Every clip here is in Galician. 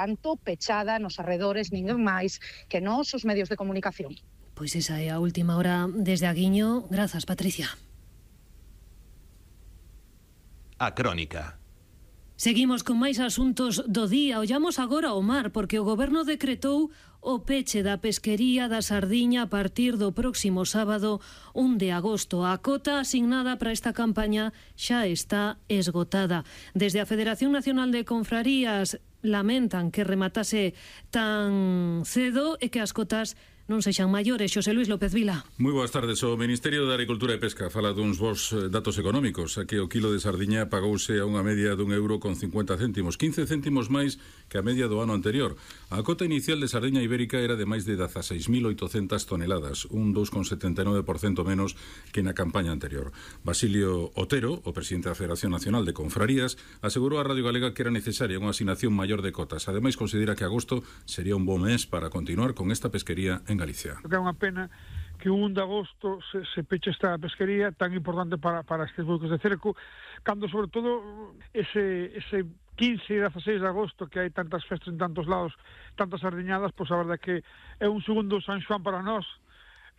tanto pechada nos arredores, ninguén máis que nós os medios de comunicación. Pois esa é a última hora desde Aguiño. Grazas, Patricia. A Crónica. Seguimos con máis asuntos do día. Ollamos agora ao mar, porque o Goberno decretou o peche da pesquería da sardiña a partir do próximo sábado 1 de agosto. A cota asignada para esta campaña xa está esgotada. Desde a Federación Nacional de Confrarías lamentan que rematase tan cedo e que as cotas non sexan maiores. Xosé Luis López Vila. Moi boas tardes. O Ministerio de Agricultura e Pesca fala duns bons datos económicos. Aquí o kilo de sardiña pagouse a unha media dun euro con 50 céntimos, 15 céntimos máis que a media do ano anterior. A cota inicial de sardiña ibérica era de máis de 16.800 toneladas, un 2,79% menos que na campaña anterior. Basilio Otero, o presidente da Federación Nacional de Confrarías, asegurou a Radio Galega que era necesaria unha asignación maior de cotas. Ademais, considera que agosto sería un bo mes para continuar con esta pesquería en Galicia. É unha pena que o 1 de agosto se peche esta pesquería tan importante para estes buques de cerco, cando sobre todo ese 15 e 16 de agosto, que hai tantas festas en tantos lados, tantas sardiñadas, pois a verdade que é un segundo San Xoán para nós.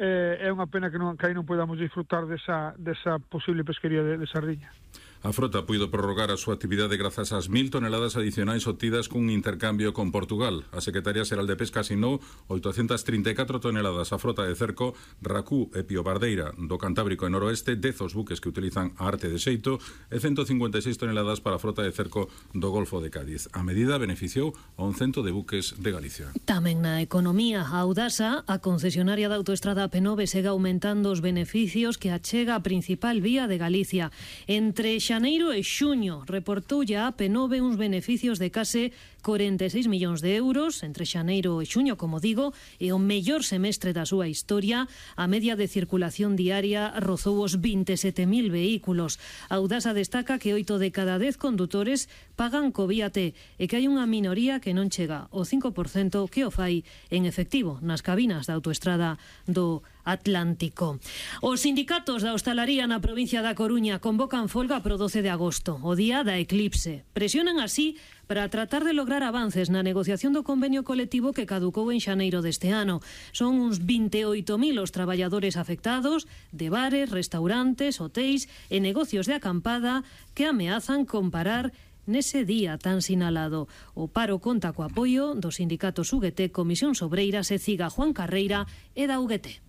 É unha pena que aí non podamos disfrutar desa posible pesquería de sardiña. A frota puido prorrogar a súa actividade grazas ás 1.000 toneladas adicionais obtidas cun intercambio con Portugal. A Secretaría Xeral de Pesca asinou 834 toneladas. A frota de cerco, Racú e Piobardeira do Cantábrico e Noroeste, 10 os buques que utilizan a arte de xeito e 156 toneladas para a frota de cerco do Golfo de Cádiz. A medida beneficiou a 100 de buques de Galicia. Tamén na economía, a Audasa, a concesionaria da autoestrada AP9, segue aumentando os beneficios que achega a principal vía de Galicia. Entre xaneiro e xuño reportoulle a AP9 uns beneficios de case 46 millóns de euros entre xaneiro e xuño, como digo, e o mellor semestre da súa historia. A media de circulación diaria rozou os 27.000 vehículos. A Audasa destaca que 8 de cada 10 condutores pagan co Vía T e que hai unha minoría que non chega ao 5% que o fai en efectivo nas cabinas da autoestrada do Atlántico. Os sindicatos da hostalaría na provincia da Coruña convocan folga pro 12 de agosto, o día da eclipse. Presionan así para tratar de lograr avances na negociación do convenio colectivo que caducou en xaneiro deste ano. Son uns 28.000 os traballadores afectados de bares, restaurantes, hotéis e negocios de acampada que ameazan con parar nese día tan sinalado. O paro conta co apoio dos sindicatos UGT, Comisión Obreiras e CIGA Juan Carreira e da UGT.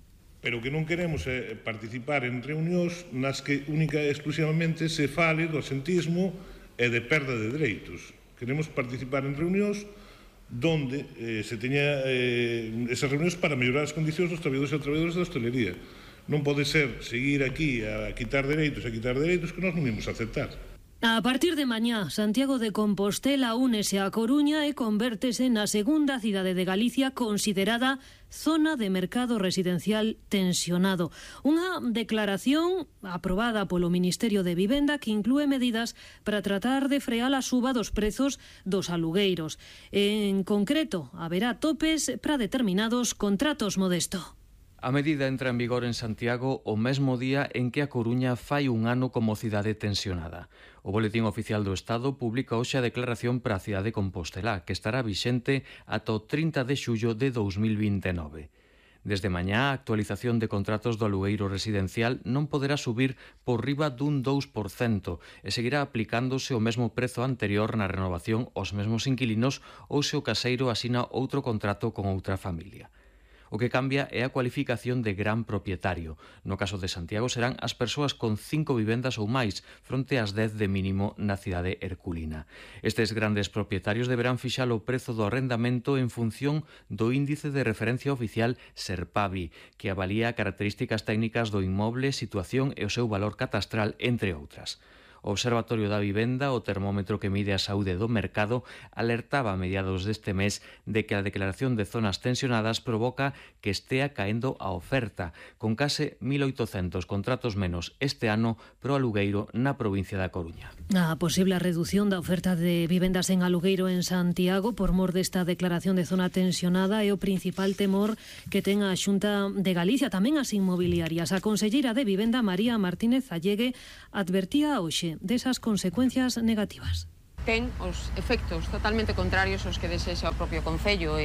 Pero o que non queremos é participar en reunións nas que única e exclusivamente se fale do asentismo e de perda de dereitos. Queremos participar en reunións donde se teña esas reunións para mellorar as condicións dos traballadores e traballadoras da hostelería. Non pode ser seguir aquí a quitar dereitos que nós non imos aceptar. A partir de mañá, Santiago de Compostela únese a Coruña e convértese na segunda cidade de Galicia considerada zona de mercado residencial tensionado. Unha declaración aprobada polo Ministerio de Vivenda que inclúe medidas para tratar de frear a suba dos prezos dos alugueiros. En concreto, haberá topes para determinados contratos, Modesto. A medida entra en vigor en Santiago o mesmo día en que a Coruña fai un ano como cidade tensionada. O Boletín Oficial do Estado publica hoxe a declaración para a cidade de Compostela, que estará vixente ata o 30 de xullo de 2029. Desde mañá, a actualización de contratos do alugueiro residencial non poderá subir por riba dun 2% e seguirá aplicándose o mesmo prezo anterior na renovación aos mesmos inquilinos ou se o caseiro asina outro contrato con outra familia. O que cambia é a cualificación de gran propietario. No caso de Santiago serán as persoas con 5 vivendas ou máis, fronte ás 10 de mínimo na cidade herculina. Estes grandes propietarios deberán fixar o prezo do arrendamento en función do índice de referencia oficial Serpavi, que avalía características técnicas do inmoble, situación e o seu valor catastral, entre outras. O Observatorio da Vivenda, o termómetro que mide a saúde do mercado, alertaba a mediados deste mes de que a declaración de zonas tensionadas provoca que estea caendo a oferta, con case 1.800 contratos menos este ano pro alugueiro na provincia da Coruña. A posible redución da oferta de vivendas en alugueiro en Santiago por mor desta declaración de zona tensionada é o principal temor que ten a Xunta de Galicia, tamén as inmobiliarias. A conselleira de Vivenda, María Martínez Allegue, advertía hoxe desas consecuencias negativas. ten os efectos totalmente contrarios aos que desexa o propio Concello.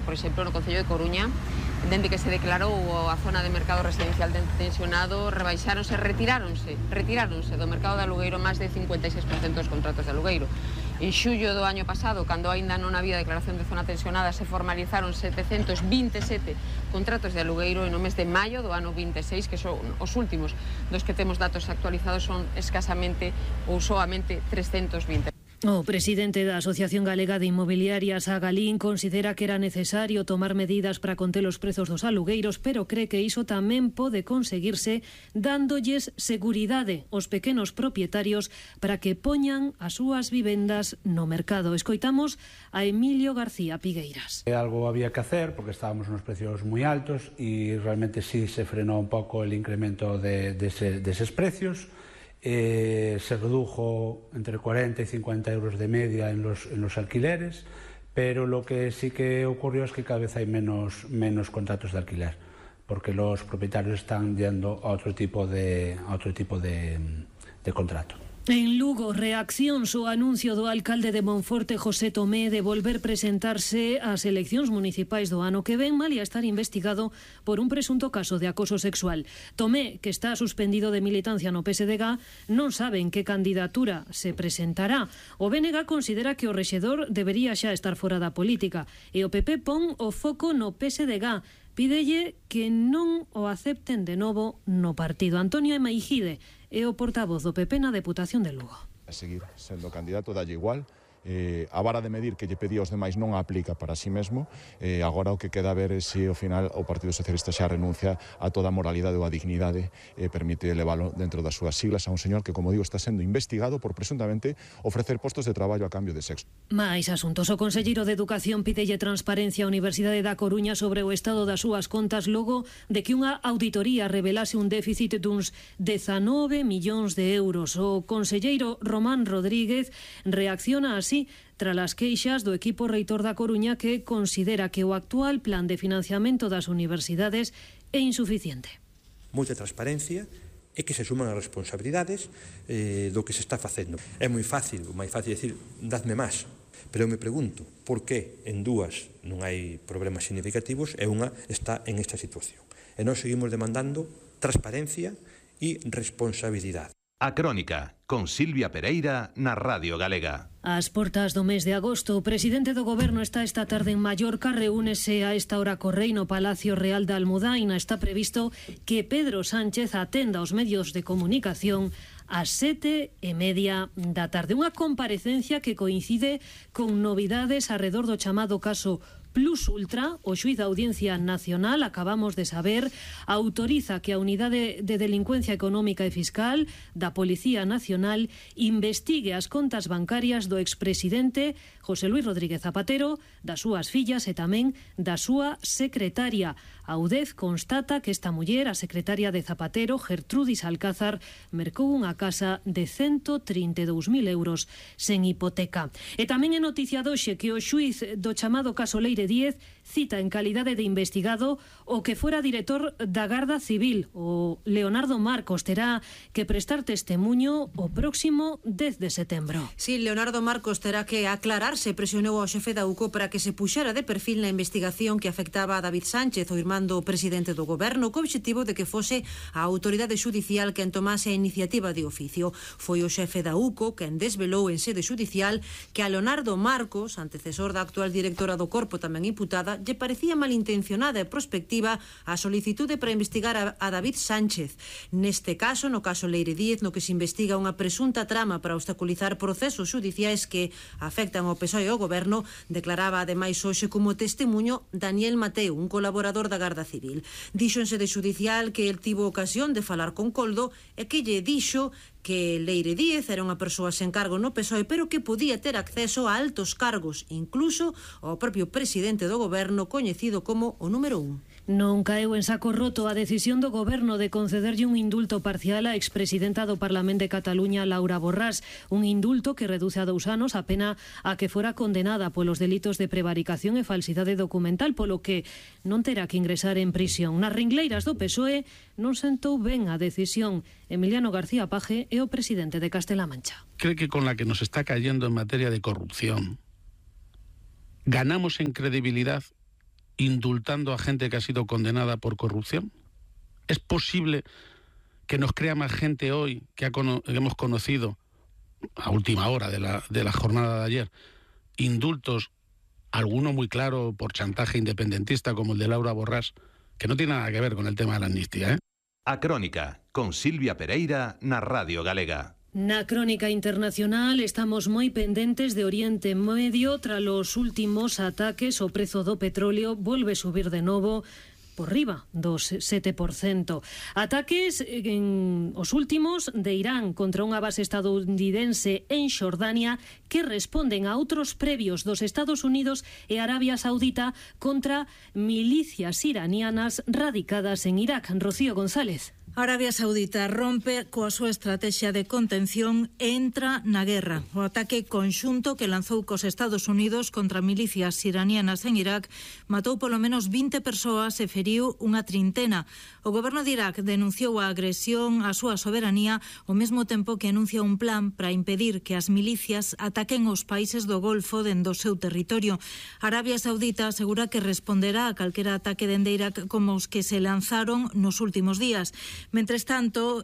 Por exemplo, no Concello de Coruña, dende que se declarou a zona de mercado residencial tensionado, retiráronse do mercado de alugueiro máis de 56% dos contratos de alugueiro. En xullo do año pasado, cando aínda non había declaración de zona tensionada, se formalizaron 727 contratos de alugueiro, e no mes de maio do ano 26, que son os últimos dos que temos datos actualizados, son escasamente ou soamente 320. O presidente da Asociación Galega de Inmobiliarias, Agalín, considera que era necesario tomar medidas para conter os prezos dos alugueiros, pero cree que iso tamén pode conseguirse dándolles seguridade aos pequenos propietarios para que poñan as súas vivendas no mercado. Escoitamos a Emilio García Pigueiras. Algo había que hacer porque estábamos nos precios moi altos e realmente sí se frenó un pouco el incremento deses precios. Se redujo entre 40 y 50 euros de media en los alquileres, pero lo que sí que ocurrió es que cada vez hay menos contratos de alquiler, porque los propietarios están yendo a otro tipo de contrato. En Lugo, reaccións ao anuncio do alcalde de Monforte, José Tomé, de volver presentarse ás eleccións municipais do ano que ven, malia estar investigado por un presunto caso de acoso sexual. Tomé, que está suspendido de militancia no PSDG, non sabe en que candidatura se presentará. O BNG considera que o rexedor debería xa estar fora da política e o PP pon o foco no PSDG. Pídelle que non o acepten de novo no partido. Antonio Emaigide é o portavoz do PP na Deputación de Lugo. A seguir sendo candidato dalle igual. A vara de medir que lle pedía aos demais non a aplica para si mesmo. Agora o que queda ver é se ao final o Partido Socialista xa renuncia a toda a moralidade ou a dignidade e permite elevalo dentro das súas siglas a un señor que, como digo, está sendo investigado por presuntamente ofrecer postos de traballo a cambio de sexo. Mais asuntos. O conselleiro de Educación pídelle transparencia á Universidade da Coruña sobre o estado das súas contas logo de que unha auditoría revelase un déficit duns 19 millóns de euros. O conselleiro Román Rodríguez reacciona así tras as queixas do equipo reitor da Coruña, que considera que o actual plan de financiamento das universidades é insuficiente. Moita transparencia e que se suman as responsabilidades do que se está facendo. É moi fácil, o máis fácil decir, dadme máis. Pero eu me pregunto, por que en dúas non hai problemas significativos e unha está en esta situación? E nós seguimos demandando transparencia e responsabilidade. A Crónica, con Silvia Pereira, na Radio Galega. Ás portas do mes de agosto, o presidente do Goberno está esta tarde en Mallorca, reúnese a esta hora co Rei no Palacio Real da Almudaina. Está previsto que Pedro Sánchez atenda aos medios de comunicación ás 7:30 da tarde. Unha comparecencia que coincide con novidades arredor do chamado caso Plus Ultra. O xuíz da Audiencia Nacional, acabamos de saber, autoriza que a Unidade de Delincuencia Económica e Fiscal da Policía Nacional investigue as contas bancarias do expresidente José Luis Rodríguez Zapatero, das súas fillas e tamén da súa secretaria. A UDEF constata que esta muller, a secretaria de Zapatero, Gertrudis Alcázar, mercou unha casa de 132.000 euros sen hipoteca. E tamén é noticia doxe que o xuíz do chamado caso Leire Díez cita en calidade de investigado o que fora director da Garda Civil, o Leonardo Marcos. Terá que prestar testemuño o próximo 10 de setembro. Sí, Leonardo Marcos terá que aclararse. Presionou ao xefe da UCO para que se puxera de perfil na investigación que afectaba a David Sánchez, o irmán do presidente do Goberno, co obxectivo de que fose a autoridade xudicial quen tomase a iniciativa de oficio. Foi o xefe da UCO quen desvelou en sede xudicial que a Leonardo Marcos, antecesor da actual directora do Corpo, tamén imputada, lle parecía malintencionada e prospectiva a solicitude para investigar a David Sánchez. Neste caso, no caso Leire Díez, no que se investiga unha presunta trama para obstaculizar procesos xudiciais que afectan ao PSOE e ao Goberno, declaraba ademais hoxe como testemuño Daniel Mateu, un colaborador da Garda Civil. Dixo en sede xudicial que el tivo ocasión de falar con Coldo e que lle dixo que Leire Díez era unha persoa sen cargo no PSOE, pero que podía ter acceso a altos cargos, incluso ao propio presidente do Goberno, coñecido como o número 1. Non caeu en saco roto a decisión do Goberno de concederlle un indulto parcial á expresidenta do Parlamento de Cataluña, Laura Borràs, un indulto que reduce a 2 anos a pena a que fora condenada polos delitos de prevaricación e falsidade documental, polo que non terá que ingresar en prisión. Nas ringleiras do PSOE non sentou ben a decisión Emiliano García Paje é o presidente de Castela Mancha. ¿Cree que con la que nos está cayendo en materia de corrupción ganamos en credibilidad indultando a gente que ha sido condenada por corrupción? ¿Es posible que nos crea más gente hoy que hemos conocido a última hora de la jornada de ayer indultos, alguno muy claro por chantaje independentista como el de Laura Borràs, que no tiene nada que ver con el tema de la amnistía, A Crónica, con Silvia Pereira na Radio Galega. Na crónica internacional estamos moi pendentes de Oriente Medio tras os últimos ataques. O prezo do petróleo volve subir de novo por riba dos 7%. Ataques en os últimos de Irán contra unha base estadounidense en Xordania que responden a outros previos dos Estados Unidos e Arabia Saudita contra milicias iranianas radicadas en Irak. Rocío González. Arabia Saudita rompe coa súa estrategia de contención e entra na guerra. O ataque conxunto que lanzou cos Estados Unidos contra milicias iranianas en Irak matou polo menos 20 persoas e feriu unha trintena. O goberno de Irak denunciou a agresión á súa soberanía ao mesmo tempo que anuncia un plan para impedir que as milicias ataquen os países do Golfo dende o seu territorio. Arabia Saudita asegura que responderá a calquera ataque dende Irak como os que se lanzaron nos últimos días. Mentres tanto,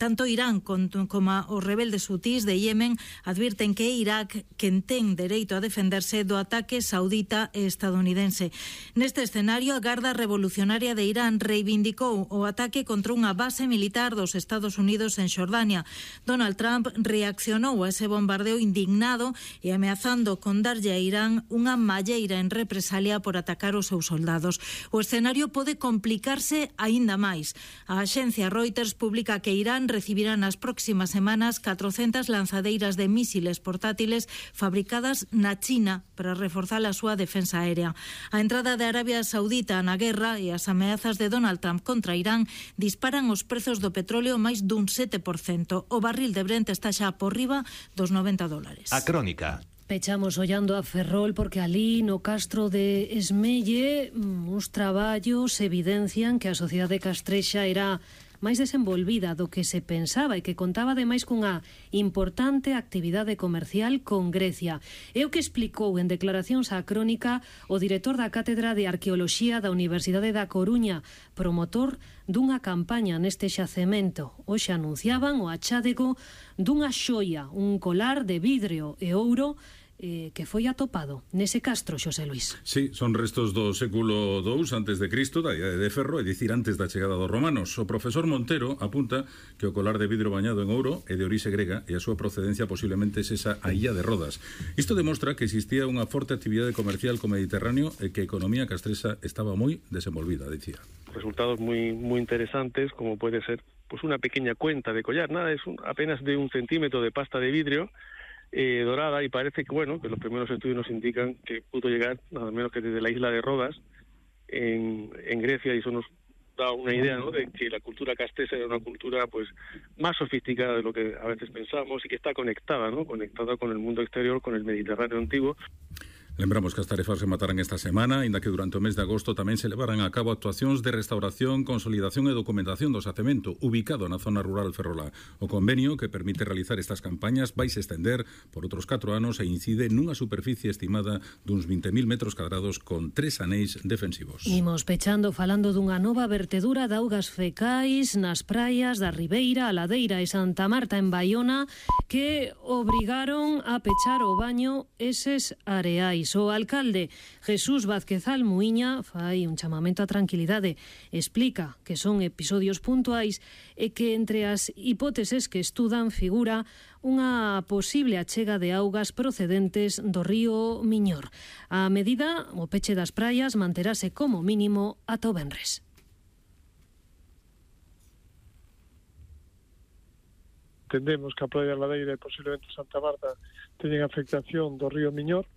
tanto Irán como os rebeldes hutís de Yemen advirten que é Irak quen ten dereito a defenderse do ataque saudita e estadounidense. Neste escenario, a Garda Revolucionaria de Irán reivindicou o ataque contra unha base militar dos Estados Unidos en Xordania. Donald Trump reaccionou a ese bombardeo indignado e ameazando con darlle a Irán unha malleira en represalia por atacar os seus soldados. O escenario pode complicarse aínda máis. A agencia Reuters publica que Irán recibirá nas próximas semanas 400 lanzadeiras de mísiles portátiles fabricadas na China para reforzar a súa defensa aérea. A entrada de Arabia Saudita na guerra e as ameazas de Donald Trump contra Irán disparan os prezos do petróleo máis dun 7%. O barril de Brent está xa por riba dos $90. A Crónica. Pechamos ollando a Ferrol porque alí no castro de Esmelle uns traballos evidencian que a sociedade castrexa era máis desenvolvida do que se pensaba e que contaba ademais cunha importante actividade comercial con Grecia. É o que explicou en declaracións á Crónica o director da Cátedra de Arqueoloxía da Universidade da Coruña, promotor dunha campaña neste xacemento. Hoxe anunciaban o achádego dunha xoia, un colar de vidrio e ouro que foi atopado nese castro, Xosé Luís. Sí, son restos do século II antes de Cristo, da idade de Ferro, é dicir, antes da chegada dos romanos. O profesor Montero apunta que o colar de vidro bañado en ouro é de orixe grega e a súa procedencia posiblemente esa a illa de Rodas. Isto demostra que existía unha forte actividade comercial co Mediterráneo e que a economía castrexa estaba moi desenvolvida, dicía. Resultados muy interesantes, como puede ser pues una pequeña cuenta de collar, nada, es apenas de 1 centímetro de pasta de vidrio dorada, y parece que bueno, que los primeros estudios nos indican que pudo llegar nada menos que desde la isla de Rodas en Grecia, y eso nos da una idea, ¿no?, de que la cultura castrexa era una cultura pues más sofisticada de lo que a veces pensamos y que está conectada, ¿no?, conectada con el mundo exterior, con el Mediterráneo antiguo. Lembramos que as tarefas rematarán esta semana, inda que durante o mes de agosto tamén se levarán a cabo actuacións de restauración, consolidación e documentación do xacemento ubicado na zona rural ferrolá. O convenio que permite realizar estas campañas vai se estender por outros 4 anos e incide nunha superficie estimada duns 20.000 metros cadrados con 3 anéis defensivos. Imos pechando falando dunha nova vertedura de augas fecais nas praias da Ribeira, a Ladeira e Santa Marta en Baiona que obrigaron a pechar o baño eses areais. O alcalde Jesús Vázquez Almuíña fai un chamamento á tranquilidade. Explica que son episodios puntuais e que entre as hipóteses que estudan figura unha posible achega de augas procedentes do río Miñor. A medida, o peche das praias manterase como mínimo ata o venres. Entendemos que a Praia da Ladeira e posiblemente Santa Marta teñen afectación do río Miñor.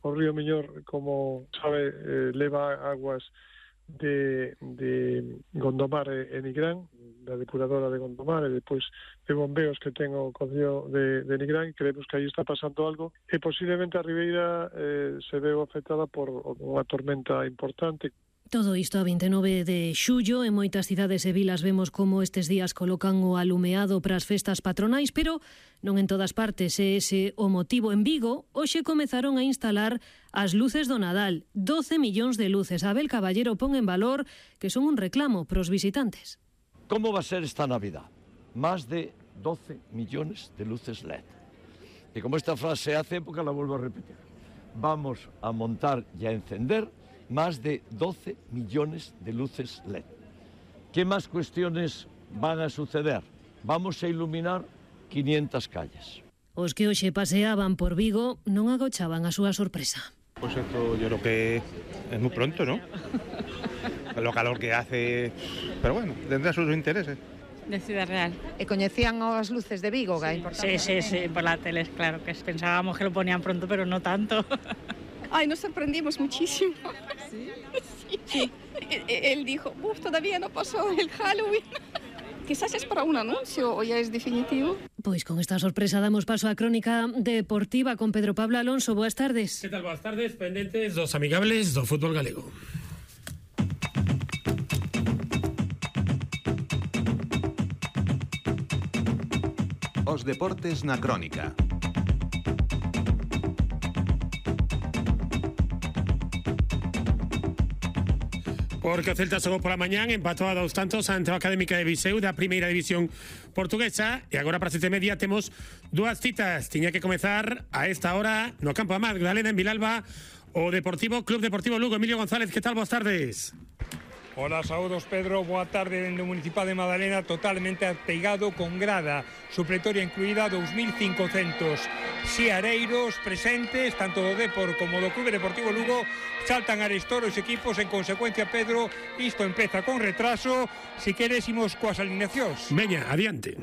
O río Miñor, como sabe, leva aguas de Gondomar e Nigrán, da depuradora de Gondomar e depois de bombeos que ten o Concello de Nigrán. Creemos que aí está pasando algo e posiblemente a Ribeira se veu afectada por unha tormenta importante. Todo isto a 29 de xullo. En moitas cidades e vilas vemos como estes días colocan o alumeado para as festas patronais, pero non en todas partes é ese o motivo. En Vigo, hoxe comezaron a instalar as luces do Nadal. 12 millóns de luces. Abel Caballero pon en valor que son un reclamo pros visitantes. Como va a ser esta Navidad? Más de 12 millones de luces LED. Y como esta frase hace época, la vuelvo a repetir. Vamos a montar y a encender más de 12 millones de luces LED. ¿Qué más cuestiones van a suceder? Vamos a iluminar 500 calles. Os que hoxe paseaban por Vigo non agochaban a súa sorpresa. Pues esto yo creo que es muy pronto, ¿no? Lo calor que hace, pero bueno, tendrá sus intereses. De Ciudad Real. ¿E coñecían as luces de Vigo? Sí, por la tele, claro, que pensábamos que lo ponían pronto, pero no tanto. Ay, nos sorprendimos muchísimo. ¿Sí? Sí. Él dijo, todavía no pasó el Halloween. Quizás es para un anuncio o ya es definitivo. Pois con esta sorpresa damos paso á crónica deportiva con Pedro Pablo Alonso. Boas tardes. Que tal? Boas tardes, pendentes dos amigables do fútbol galego. Os deportes na crónica. Porque o Celta xogou pola mañán, empatou a 2 tantos ante a Académica de Viseu da primeira división portuguesa e agora para 7:30 temos dúas citas. Tiña que comezar a esta hora no campo da Magdalena en Vilalba o Club Deportivo Lugo. Emilio González, que tal? Boas tardes. Hola, saúdos Pedro, boa tarde dende o Municipal de Madalena, totalmente ateigado con grada supletoria incluída, 2.500 xiareiros presentes, tanto do Depor como do Clube Deportivo Lugo. Saltan arestor os equipos, en consecuencia, Pedro, isto empeza con retraso. Si queres, imos coas alineacións. Veña, adiante.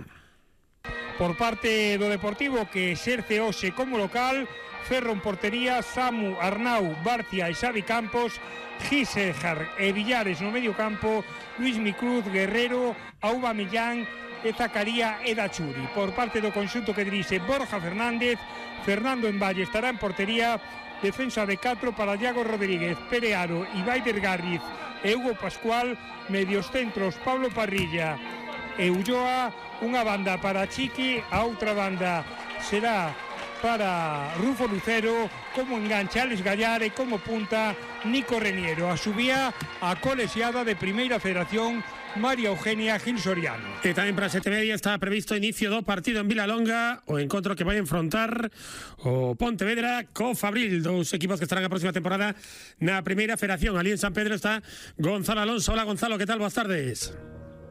Por parte do Deportivo, que exerce hoxe como local, Ferro en portería, Samu, Arnau, Barcia e Xavi Campos, Gisejar e Villares no medio campo, Luis Micruz, Guerrero, Aubameyang e Zacaría e Dachuri. Por parte do conxunto que dirixe Borja Fernández, Fernando Envalle estará en portería, defensa de 4 para Iago Rodríguez, Perearo, Ibai Vergarriz e Hugo Pascual, medios centros Pablo Parrilla e Ulloa, unha banda para Chiqui, a outra banda será para Rufo Lucero, como enganche Alex Gallar e como punta Nico Reniero. A subía a colexiada de Primeira Federación María Eugenia Gil Soriano. E tamén para 7:30 está previsto inicio do partido en Vilalonga, o encontro que vai enfrontar o Pontevedra co Fabril, dous equipos que estarán a próxima temporada na Primeira Federación. Ali en San Pedro está Gonzalo Alonso. Hola Gonzalo, que tal? Boas tardes.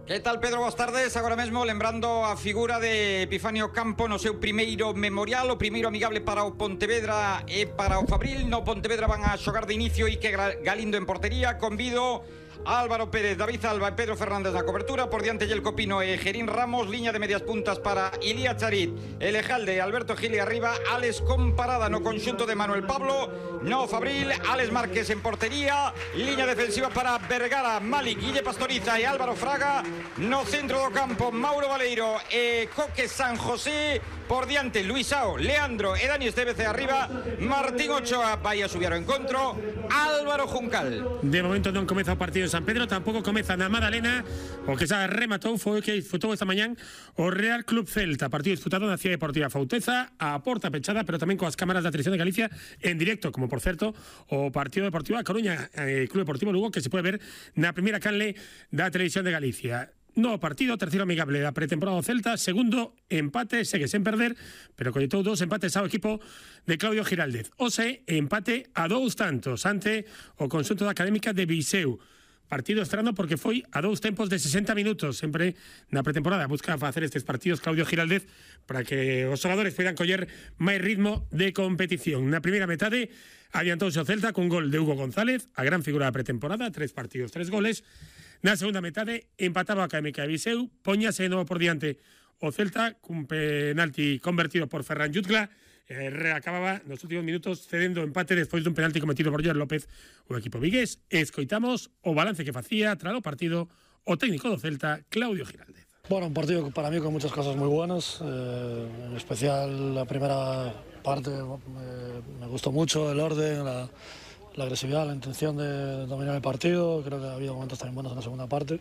Que tal, Pedro? Boas tardes. Agora mesmo lembrando a figura de Epifanio Campo no seu primeiro memorial, o primeiro amigable para o Pontevedra e para o Fabril. No Pontevedra van a xogar de inicio Ike Galindo en portería. Convido Álvaro Pérez, David Alba e Pedro Fernández na cobertura. Por diante Yelko Pino e Gerín Ramos. Liña de medias puntas para Ilía Charit, Elejalde, Alberto Gil e arriba Alex Comparada no conxunto de Manuel Pablo. No Fabril, Alex Márquez en portería. Liña defensiva para Vergara, Malik, Guille Pastoriza e Álvaro Fraga. No centro do campo, Mauro Valeiro e Coque San José. Por diante, Luisao, Leandro e Dani Estevez e arriba Martín Ochoa. Vai a subir ao encontro Álvaro Juncal. De momento non comeza o partido en San Pedro, tampouco comeza na Madalena. O que xa rematou foi que disfrutou esta mañán o Real Club Celta. Partido disputado na Cidade Deportiva Fauteza, a porta pechada, pero tamén coas cámaras da Televisión de Galicia en directo, como por certo o partido deportivo a Coruña, Club Deportivo Lugo, que se pode ver na primeira canle da Televisión de Galicia. No partido, terceiro amigable da pretemporada do Celta, segundo empate, segue sen perder, pero colletou 2 empates ao equipo de Claudio Giraldez. Ose, empate a 2 tantos ante o conxunto da Académica de Viseu. Partido estrano porque foi a 2 tempos de 60 minutos, sempre na pretemporada. Busca facer estes partidos Claudio Giraldez para que os xogadores poidan coller máis ritmo de competición. Na primeira metade, adiantouse o Celta cun gol de Hugo González, a gran figura da pretemporada, 3 partidos, 3 goles. Na segunda metade, empataba a Académica de Viseu, poñase de novo por diante o Celta, cun penalti convertido por Ferran Jutgla, reacababa nos últimos minutos cedendo empate despois dun penalti cometido por Joel López o equipo vigués. Escoitamos o balance que facía tras o partido o técnico do Celta, Claudio Giraldez. Bueno, un partido para mí con muchas cosas muy buenas, en especial la primera parte me gustó mucho el orden, la agresividad, la intención de dominar el partido. Creo que ha habido momentos también buenos en la segunda parte.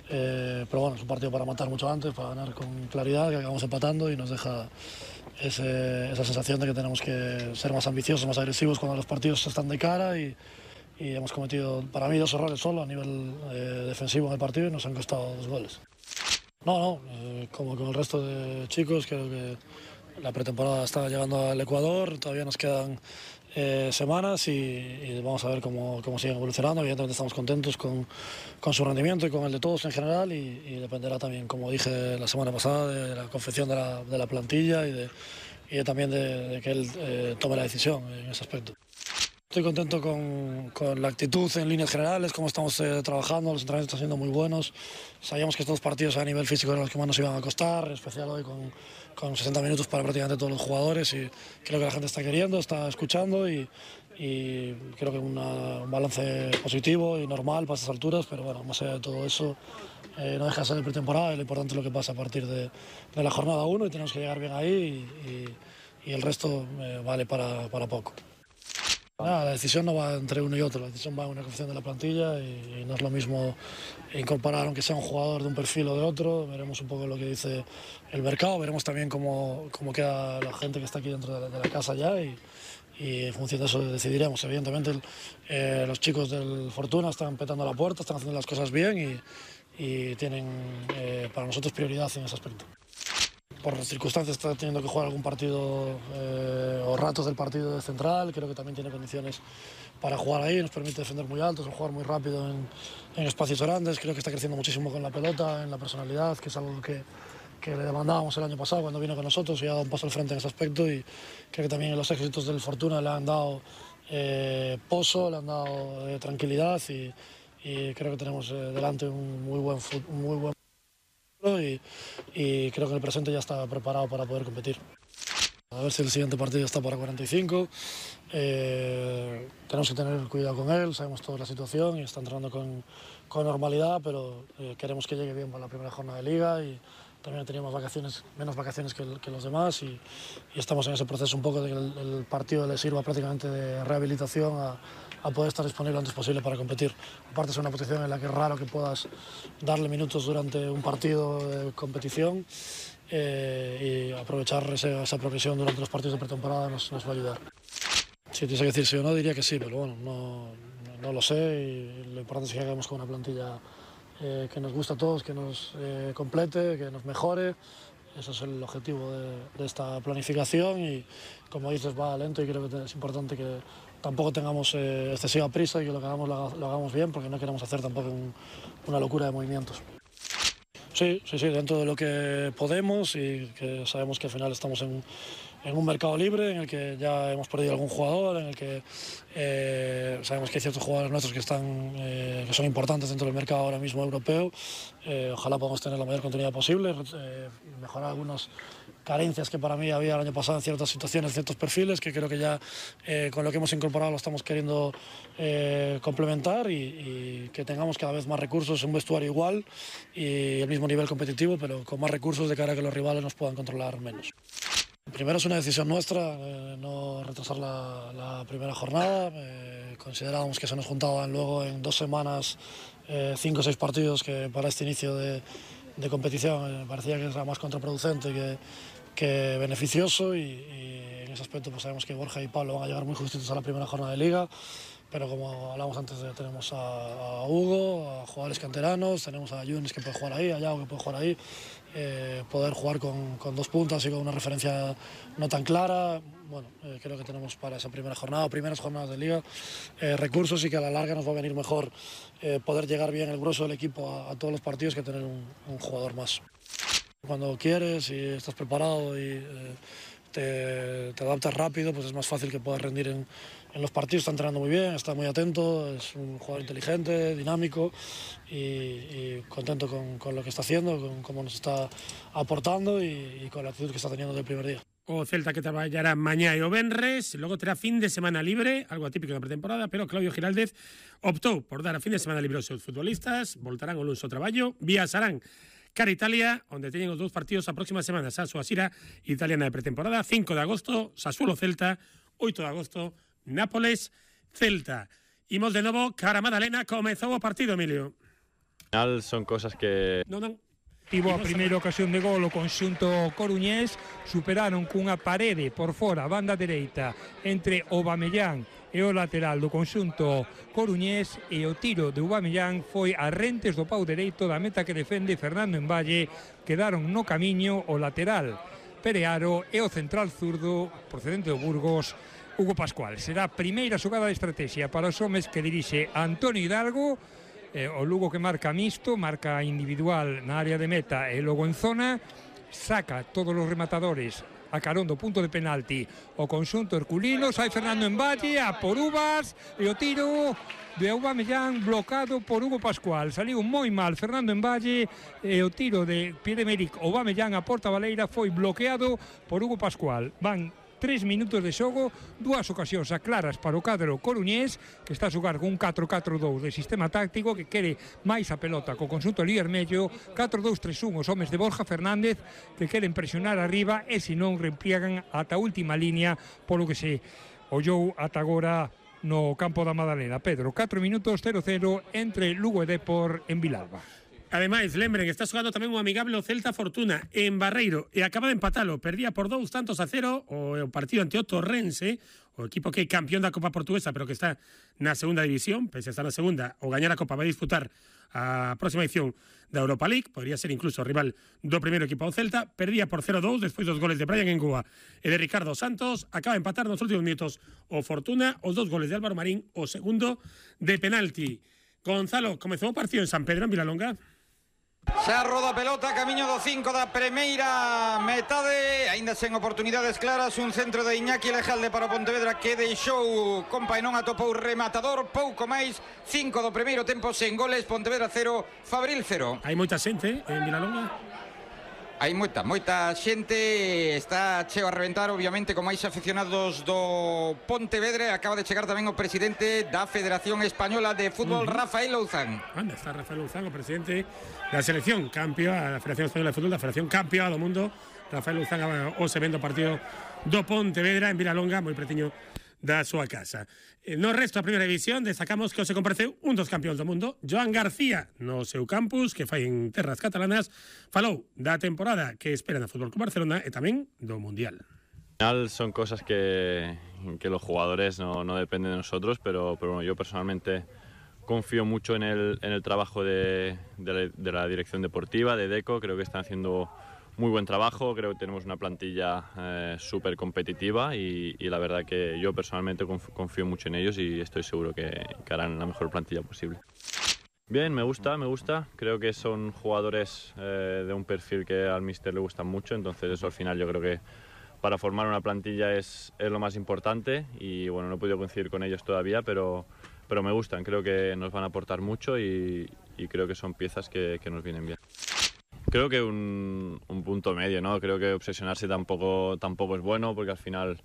Pero bueno, es un partido para matar mucho antes, para ganar con claridad, que acabamos empatando y nos deja esa sensación de que tenemos que ser más ambiciosos, más agresivos cuando los partidos están de cara y hemos cometido, para mí, 2 errores solo a nivel defensivo en el partido y nos han costado 2 goles. Como con el resto de chicos, creo que la pretemporada está llegando al Ecuador, todavía nos quedan semanas y vamos a ver cómo siguen evolucionando. Evidentemente estamos contentos con su rendimiento y con el de todos en general y dependerá también, como dije la semana pasada, de la confección de la plantilla y también de que él tome la decisión en ese aspecto. Estoy contento con la actitud en líneas generales, cómo estamos trabajando, los entrenamientos están siendo muy buenos. Sabíamos que estos partidos a nivel físico eran los que más nos iban a costar, en especial hoy con 60 minutos para prácticamente todos los jugadores y creo que la gente está queriendo, está escuchando y creo que un balance positivo y normal para estas alturas, pero bueno, más allá de todo eso, no deja de ser de pretemporada y lo importante es lo que pasa a partir de la jornada 1 y tenemos que llegar bien ahí y el resto vale para poco. La decisión no va entre uno y otro, la decisión va en una confección de la plantilla y no es lo mismo incorporar aunque sea un jugador de un perfil o de otro. Veremos un poco lo que dice el mercado, veremos también cómo queda la gente que está aquí dentro de la casa ya y en función de eso decidiremos. Evidentemente los chicos del Fortuna están petando la puerta, están haciendo las cosas bien y tienen para nosotros prioridad en ese aspecto. Por las circunstancias está teniendo que jugar algún partido o ratos del partido de central, creo que también tiene condiciones para jugar ahí, nos permite defender muy altos, jugar muy rápido en espacios grandes, creo que está creciendo muchísimo con la pelota, en la personalidad, que es algo que le demandábamos el año pasado cuando vino con nosotros y ha dado un paso al frente en ese aspecto y creo que también los éxitos del Fortuna le han dado pozo, le han dado tranquilidad y creo que tenemos delante un muy buen y creo que el presente ya está preparado para poder competir. A ver si el siguiente partido está para 45. Tenemos que tener cuidado con él, sabemos toda la situación y está entrando con normalidad, pero queremos que llegue bien para la primera jornada de liga y también teníamos menos vacaciones que los demás y estamos en ese proceso un poco de que el partido le sirva prácticamente de rehabilitación a poder estar disponible lo antes posible para competir. Aparte es una posición en la que es raro que puedas darle minutos durante un partido de competición y aprovechar esa progresión durante los partidos de pretemporada nos va a ayudar. Si tuviese que decir sí o no, diría que sí, pero bueno, no lo sé y lo importante es que hagamos con una plantilla que nos gusta a todos, que nos complete, que nos mejore. Ese es el objetivo de esta planificación y, como dices, va lento y creo que es importante que tampoco tengamos excesiva prisa y que lo que hagamos lo hagamos bien porque no queremos hacer tampoco una locura de movimientos. Sí, dentro de lo que podemos y que sabemos que al final estamos en un mercado libre en el que ya hemos perdido algún jugador, en el que sabemos que hay ciertos jugadores nuestros que son importantes dentro del mercado ahora mismo europeo. Ojalá podamos tener la mayor continuidad posible, mejorar algunas carencias que para mí había el año pasado en ciertas situaciones, ciertos perfiles, que creo que ya con lo que hemos incorporado lo estamos queriendo complementar y que tengamos cada vez más recursos, un vestuario igual y el mismo nivel competitivo, pero con más recursos de cara a que los rivales nos puedan controlar menos. Primero es una decisión nuestra, no retrasar la primera jornada. Considerábamos que se nos juntaban luego en 2 semanas 5 o 6 partidos que para este inicio de competición me parecía que era más contraproducente que beneficioso y en ese aspecto pues sabemos que Borja y Pablo van a llegar muy justitos a la primera jornada de liga, pero como hablamos antes tenemos a Hugo, a jugadores canteranos, tenemos a Yunis que puede jugar ahí, a Yago que puede jugar ahí, poder jugar con 2 puntas y con una referencia no tan clara. Bueno, creo que tenemos para esa primera jornada, primeras jornadas de liga, recursos y que a la larga nos va a venir mejor poder llegar bien el grueso del equipo a todos los partidos que tener un jugador más. Cuando quieres y estás preparado y te adaptas rápido, pues es más fácil que puedas rendir en los partidos. Está entrenando muy bien, está muy atento, es un jugador inteligente, dinámico y contento con lo que está haciendo, con cómo nos está aportando y con la actitud que está teniendo desde el primer día. O Celta que traballará mañá e o venres, logo terá fin de semana libre, algo atípico da pretemporada, pero Claudio Giraldez optou por dar a fin de semana libre aos seus futbolistas, voltarán o luns ao traballo, viaxarán cara Italia, onde teñen os 2 partidos a próxima semana, Sassuolo Sira, italiana de pretemporada, 5 de agosto, Sassuolo Celta, 8 de agosto, Nápoles, Celta. Imos de novo cara a Madalena, comezou o partido, Emilio. Al final son cosas que... Tivo a primeira ocasión de gol o conxunto coruñés, superaron cunha parede por fora, banda dereita, entre Aubameyang e o lateral do conxunto coruñés, e o tiro de Aubameyang foi a rentes do pau dereito da meta que defende Fernando Envalle. Quedaron no camiño o lateral Perearo e o central zurdo procedente do Burgos, Hugo Pascual. Será a primeira xogada de estrategia para os homes que dirixe Antonio Hidalgo. O Lugo que marca mixto, marca individual na área de meta e logo en zona, saca todos os rematadores a carón do punto de penalti o conxunto herculino. Sai Fernando Envalle a por uvas e o tiro de Aubameyang blocado por Hugo Pascual. Saliu moi mal Fernando Envalle e o tiro de Pierre-Emerick Aubameyang a porta baleira foi bloqueado por Hugo Pascual. Van 3 minutos de xogo, dúas ocasións aclaras para o cadro coruñés, que está a xogar con un 4-4-2 de sistema táctico, que quere máis a pelota co conxunto Vermello, 4-2-3-1 os homes de Borja Fernández, que queren presionar arriba e se non repliegan ata a última línea, polo que se ollou ata agora no campo da Madalena. Pedro, 4 minutos 0-0 entre Lugo e Depor en Vilalba. Ademais, lembren que está xogando tamén un amigable o Celta Fortuna en Barreiro e acaba de empatalo, perdía por 2-0 o partido ante o Torrense, o equipo que é campeón da Copa Portuguesa pero que está na segunda división, pese a estar na segunda o gañar a Copa vai disputar a próxima edición da Europa League, podría ser incluso o rival do primeiro equipo ao Celta, perdía por 0-2 despois dos goles de Brian Engúa e de Ricardo Santos, acaba de empatar nos últimos minutos o Fortuna, os 2 goles de Álvaro Marín, o segundo de penalti. Gonzalo, comezou o partido en San Pedro, en Vilalonga? Xa roda a pelota, camiño do 5 da primeira metade, aínda sen oportunidades claras, un centro de Iñaki Lejalde para o Pontevedra que deixou compa e non atopou rematador, pouco máis, 5 do primeiro tempo sen goles, Pontevedra 0, Fabril 0. Hai moita xente en Vilalonga? Hai moita xente, está cheo a reventar, obviamente, con máis aficionados do Pontevedra. Acaba de chegar tamén o presidente da Federación Española de Fútbol, Rafael Louzán. Anda, está Rafael Louzán, o presidente da selección campeona, da Federación Española de Fútbol, da Federación campeona do mundo. Rafael Louzán hoxe vendo o partido do Pontevedra en Vilalonga, moi pretiño da súa casa. No resto da primeira división destacamos que hoxe compareceu un dos campeóns do mundo, Joan García, no seu campus, que fai en terras catalanas, falou da temporada que espera no Fútbol Club Barcelona e tamén do Mundial. Al final son cosas que los jugadores no dependen de nosotros, pero bueno, yo personalmente confío mucho en el trabajo de la dirección deportiva, de Deco. Creo que están haciendo muy buen trabajo, creo que tenemos una plantilla súper competitiva y la verdad que yo personalmente confío mucho en ellos y estoy seguro que harán la mejor plantilla posible. Bien, me gusta, creo que son jugadores de un perfil que al míster le gustan mucho, entonces eso al final yo creo que para formar una plantilla es lo más importante y bueno, no he podido coincidir con ellos todavía, pero me gustan, creo que nos van a aportar mucho y creo que son piezas que nos vienen bien. Creo que un punto medio, ¿no? Creo que obsesionarse tampoco es bueno porque al final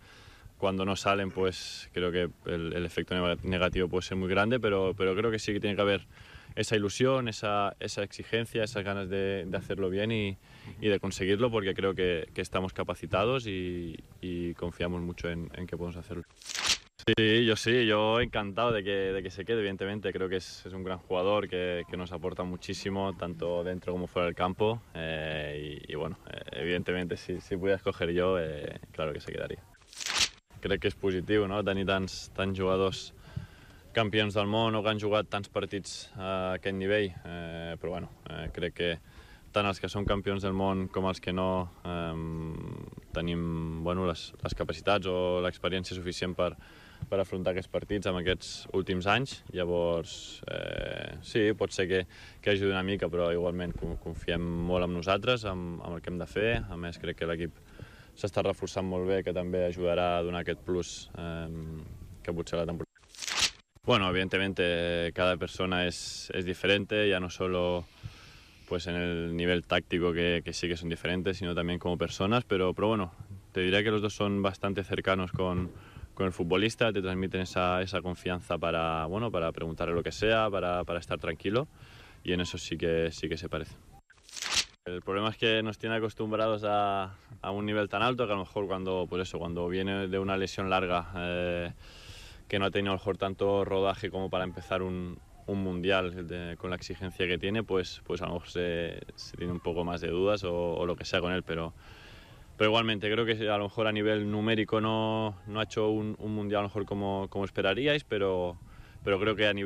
cuando no salen pues creo que el efecto negativo puede ser muy grande, pero creo que sí que tiene que haber esa ilusión, esa exigencia, esas ganas de hacerlo bien y de conseguirlo porque creo que estamos capacitados y confiamos mucho en que podemos hacerlo. Sí, yo encantado de que se quede, evidentemente. Creo que es un gran jugador que nos aporta muchísimo, tanto dentro como fuera del campo. Y bueno, evidentemente, si pudiera escoger yo, claro que se quedaria. Crec que és positiu, no?, tenir tants jugadors campions del món o que han jugat tants partits a aquest nivell. Però bueno, crec que tant els que són campions del món com els que no tenim les capacitats o l'experiència suficient per afrontar aquests partits en aquests últims anys. Llavors, sí, pot ser que ajudi una mica, però igualment confiem molt en nosaltres, amb el que hem de fer. A més, crec que l'equip s'està reforçant molt bé, que també ajudarà a donar aquest plus que potser la temporada. Bueno, evidentemente cada persona es diferente, ya no solo pues en el nivel táctico que sí que son diferentes, sino también como personas, pero bueno, te diría que los dos son bastante cercanos con el futbolista, te transmiten esa confianza para preguntarle lo que sea, para estar tranquilo, y en eso sí que se parece. El problema es que nos tiene acostumbrados a un nivel tan alto que a lo mejor cuando viene de una lesión larga no ha tenido a lo mejor tanto rodaje como para empezar un mundial con la exigencia que tiene, pues a lo mejor se tiene un poco más de dudas o lo que sea con él, pero igualmente creo que a lo mejor a nivel numérico no ha hecho un mundial a lo mejor como esperaríais, pero creo que a nivel